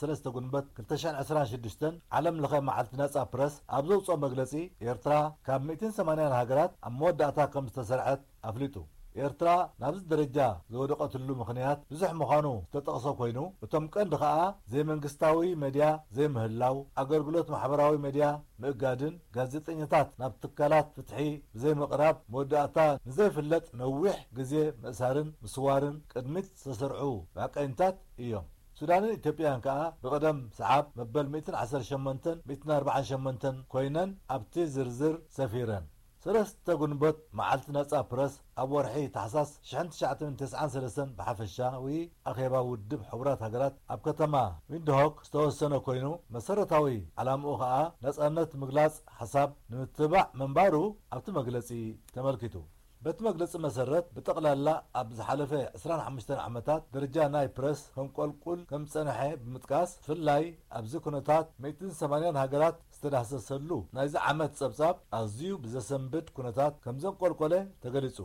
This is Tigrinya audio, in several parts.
ሰለስተ ጉንበት ክልተ ሽሕን ዕስራን ሽዱሽተን ዓለም ለኸ መዓልቲ ነጻ ፕረስ ኣብ ዘውፅኦ መግለፂ፣ ኤርትራ ካብ ሚእትን ሰማንያን ሃገራት ኣብ መወዳእታ ከም ዝተሰርዐት ኣፍሊጡ። ኤርትራ ናብዚ ደረጃ ዝወደቐትሉ ምኽንያት ብዙሕ ምዃኑ ዝተጠቕሰ ኮይኑ፣ እቶም ቀንዲ ኸኣ ዘይመንግስታዊ መድያ ዘይምህላው፣ ኣገልግሎት ማሕበራዊ መድያ ምእጋድን ጋዜጠኛታት ናብ ትካላት ፍትሒ ብዘይምቕራብ መወዳእታ ንዘይፍለጥ ነዊሕ ግዜ ምእሳርን ምስዋርን ቅድሚት ዝተሰርዑ መዕቀኒታት እዮም። ሱዳንን ኢትዮጵያን ከኣ ብቕደም ሰዓብ መበል ሚእትን ዓሰርተ ሸሞንተን ሚእትን ኣርባዓን ሸሞንተን ኮይነን ኣብቲ ዝርዝር ሰፊረን። ሰለስተ ጉንበት መዓልቲ ነጻ ፕረስ ኣብ ወርሒ ታሕሳስ ሽሕን ትሽዓተ ሚእትን ተስዓን ሰለስተን ብሓፈሻዊ ኣኼባ ውድብ ሕቡራት ሃገራት ኣብ ከተማ ዊንድሆክ ዝተወሰነ ኮይኑ፣ መሰረታዊ ዓላምኡ ኸኣ ነጻነት ምግላጽ ሓሳብ ንምትባዕ ምንባሩ ኣብቲ መግለጺ ተመልኪቱ። በቲ መግለጺ መሰረት፣ ብጠቕላላ ኣብ ዝሓለፈ ዕስራን ሓሙሽተን ዓመታት ደረጃ ናይ ፕረስ ከንቆልቁል ከም ዝጸንሐ ብምጥቃስ፣ ብፍላይ ኣብዚ ኩነታት ሚእትን ሰማንያን ሃገራት ዝተዳህሰሰሉ ናይዚ ዓመት ጸብጻብ ኣዝዩ ብዘሰንብድ ኩነታት ከም ዘንቆልቆለ ተገሊጹ።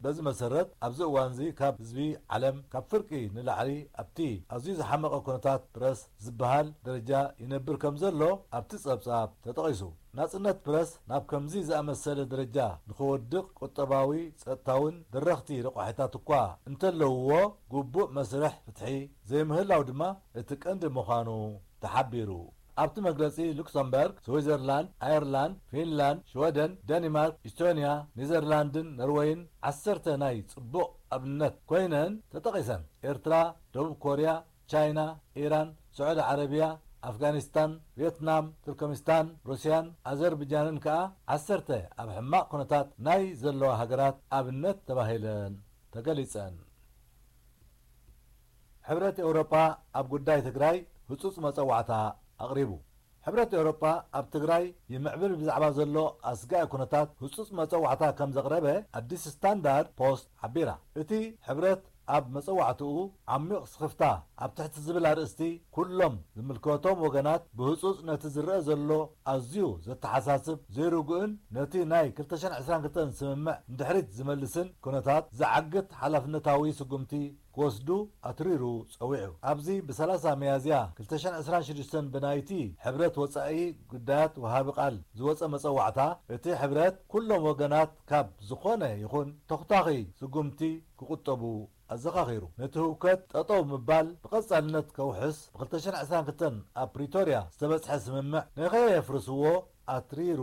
በዚ መሰረት፣ ኣብዚ እዋንዚ ካብ ህዝቢ ዓለም ካብ ፍርቂ ንላዕሊ ኣብቲ ኣዝዩ ዝሓመቐ ኩነታት ፕረስ ዝበሃል ደረጃ ይነብር ከም ዘሎ ኣብቲ ጸብጻብ ተጠቒሱ። ናጽነት ፕረስ ናብ ከምዚ ዝኣመሰለ ደረጃ ንኽወድቕ ቁጠባዊ፣ ጸጥታውን ደረኽቲ ረቋሒታት እኳ እንተለውዎ፣ ግቡእ መስርሕ ፍትሒ ዘይምህላው ድማ እቲ ቀንዲ ምዃኑ ተሓቢሩ። ኣብቲ መግለጺ፣ ሉክሰምበርግ፣ ስዊዘርላንድ፣ ኣየርላንድ፣ ፊንላንድ፣ ሽወደን፣ ደኒማርክ፣ ኢስቶንያ፣ ኔዘርላንድን ኖርወይን ዓሰርተ ናይ ጽቡቕ ኣብነት ኮይነን ተጠቒሰን። ኤርትራ፣ ደቡብ ኮርያ፣ ቻይና፣ ኢራን፣ ስዑዲ ዓረብያ፣ ኣፍጋኒስታን፣ ቪየትናም፣ ቱርከሚስታን፣ ሩስያን ኣዘርብጃንን ከኣ ዓሰርተ ኣብ ሕማቕ ኩነታት ናይ ዘለዋ ሃገራት ኣብነት ተባሂለን ተገሊጸን። ሕብረት ኤውሮጳ ኣብ ጉዳይ ትግራይ ህጹጽ መጸዋዕታ ኣቕሪቡ። ሕብረት ኤውሮጳ ኣብ ትግራይ ይምዕብል ብዛዕባ ዘሎ ኣስጋኢ ኩነታት ህጹጽ መጸዋዕታ ከም ዘቕረበ ኣዲስ ስታንዳርድ ፖስት ሓቢራ። እቲ ሕብረት ኣብ መጸዋዕትኡ ዓሚቕ ስኽፍታ ኣብ ትሕቲ ዝብል ኣርእስቲ፣ ኩሎም ዝምልከቶም ወገናት ብህጹጽ ነቲ ዝረኣ ዘሎ ኣዝዩ ዘተሓሳስብ፣ ዘይርጉእን ነቲ ናይ ክልተ ሽሕን ዕስራን ክልተን ስምምዕ ንድሕሪት ዝመልስን ኩነታት ዝዓግት ሓላፍነታዊ ስጉምቲ ክወስዱ ኣትሪሩ ጸዊዑ። ኣብዚ ብሰላሳ ሚያዝያ ክልተ ሽሕን ዕስራን ሽዱሽተን ብናይቲ ሕብረት ወጻኢ ጉዳያት ወሃቢ ቃል ዝወጸ መጸዋዕታ፣ እቲ ሕብረት ኩሎም ወገናት ካብ ዝኾነ ይኹን ተኹታኺ ስጉምቲ ክቁጠቡ ኣዘኻኺሩ። ነቲ ህውከት ጠጠው ምባል ብቐጻልነት ከውሕስ፣ ብ ክልተ ሽሕን ዕስራን ክልተን ኣብ ፕሪቶርያ ዝተበጽሐ ስምምዕ ንኸየፍርስዎ ኣትሪሩ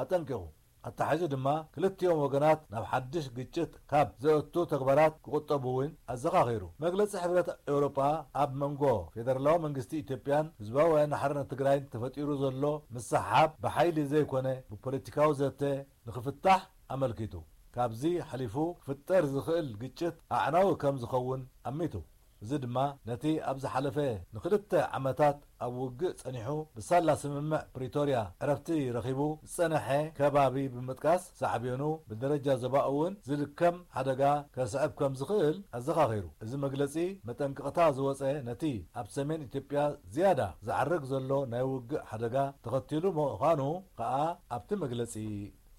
ኣጠንቂቑ። ኣተሓሒዙ ድማ፣ ክልቲኦም ወገናት ናብ ሓድሽ ግጭት ካብ ዘእቱ ተግባራት ክቑጠቡ እውን ኣዘኻኺሩ። መግለጺ ሕብረት ኤውሮጳ፣ ኣብ መንጎ ፌደራላዊ መንግስቲ ኢትዮጵያን ህዝባዊ ወያነ ሓርነት ትግራይን ተፈጢሩ ዘሎ ምስሕሓብ ብሓይሊ ዘይኮነ ብፖለቲካዊ ዘተ ንኽፍታሕ ኣመልኪቱ፣ ካብዚ ሓሊፉ ክፍጠር ዝኽእል ግጭት ኣዕናዊ ከም ዝኸውን ኣሚቱ። እዚ ድማ ነቲ ኣብ ዝሓለፈ ንኽልተ ዓመታት ኣብ ውግእ ጸኒሑ፣ ብሳላ ስምምዕ ፕሪቶርያ ዕረፍቲ ረኺቡ ዝጸንሐ ከባቢ ብምጥቃስ፣ ሳዕቤኑ ብደረጃ ዞባ እውን ዝልከም ሓደጋ ከስዕብ ከም ዝኽእል ኣዘኻኺሩ። እዚ መግለጺ መጠንቀቕታ ዝወጸ፣ ነቲ ኣብ ሰሜን ኢትዮጵያ ዝያዳ ዝዓርግ ዘሎ ናይ ውግእ ሓደጋ ተኸቲሉ ምዃኑ ከኣ ኣብቲ መግለጺ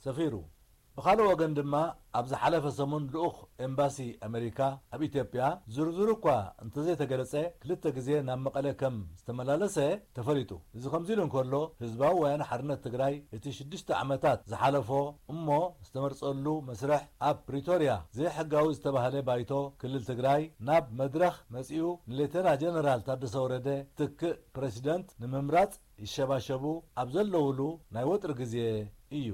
ሰፊሩ። ብኻልእ ወገን ድማ፣ ኣብ ዝሓለፈ ሰሙን ልኡኽ ኤምባሲ ኣመሪካ ኣብ ኢትዮጵያ፣ ዝርዝሩ እኳ እንተዘይተገለጸ፣ ክልተ ግዜ ናብ መቐለ ከም ዝተመላለሰ ተፈሊጡ። እዚ ከምዚ ኢሉ እንከሎ፣ ህዝባዊ ወያነ ሓርነት ትግራይ እቲ ሽዱሽተ ዓመታት ዝሓለፎ እሞ ዝተመርጸሉ መስርሕ ኣብ ፕሪቶርያ ዘይሕጋዊ ዝተባህለ ባይቶ ክልል ትግራይ ናብ መድረኽ መጺኡ፣ ንሌተና ጀነራል ታደሰ ወረደ ትክእ ፕረሲደንት ንምምራጽ ይሸባሸቡ ኣብ ዘለውሉ ናይ ወጥሪ ግዜ እዩ።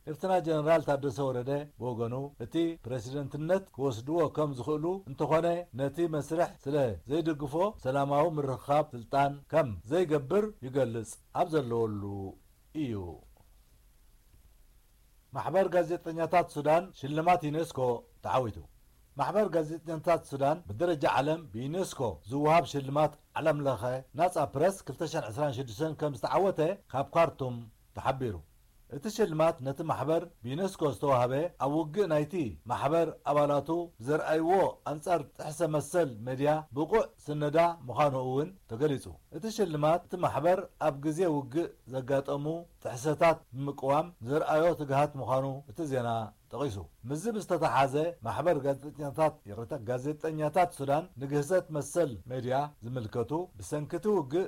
ሌፍተና ጀነራል ታደሰ ወረደ ብወገኑ፣ እቲ ፕረሲደንትነት ክወስድዎ ከም ዝኽእሉ እንተኾነ፣ ነቲ መስርሕ ስለ ዘይድግፎ፣ ሰላማዊ ምርኽኻብ ስልጣን ከም ዘይገብር ይገልጽ ኣብ ዘለወሉ እዩ። ማሕበር ጋዜጠኛታት ሱዳን ሽልማት ዩኔስኮ ተዓዊቱ። ማሕበር ጋዜጠኛታት ሱዳን፣ ብደረጃ ዓለም ብዩኔስኮ ዝወሃብ ሽልማት ዓለም ለኸ ናጻ ፕረስ ክልተ ሽሕን ዕስራን ሽዱሽተን ከም ዝተዓወተ ካብ ካርቱም ተሓቢሩ። እቲ ሽልማት ነቲ ማሕበር ብዩኔስኮ ዝተዋህበ፣ ኣብ ውግእ ናይቲ ማሕበር ኣባላቱ ዘርኣይዎ ኣንጻር ጥሕሰ መሰል ሜድያ ብቑዕ ስነዳ ምዃኑ እውን ተገሊጹ። እቲ ሽልማት እቲ ማሕበር ኣብ ግዜ ውግእ ዘጋጠሙ ጥሕሰታት ብምቅዋም ዘርኣዮ ትግሃት ምዃኑ እቲ ዜና ጠቒሱ። ምስዚ ብዝተተሓዘ፣ ማሕበር ጋዜጠኛታት፣ ይቕሬታ፣ ጋዜጠኛታት ሱዳን ንግህሰት መሰል ሜድያ ዝምልከቱ፣ ብሰንኪ እቲ ውግእ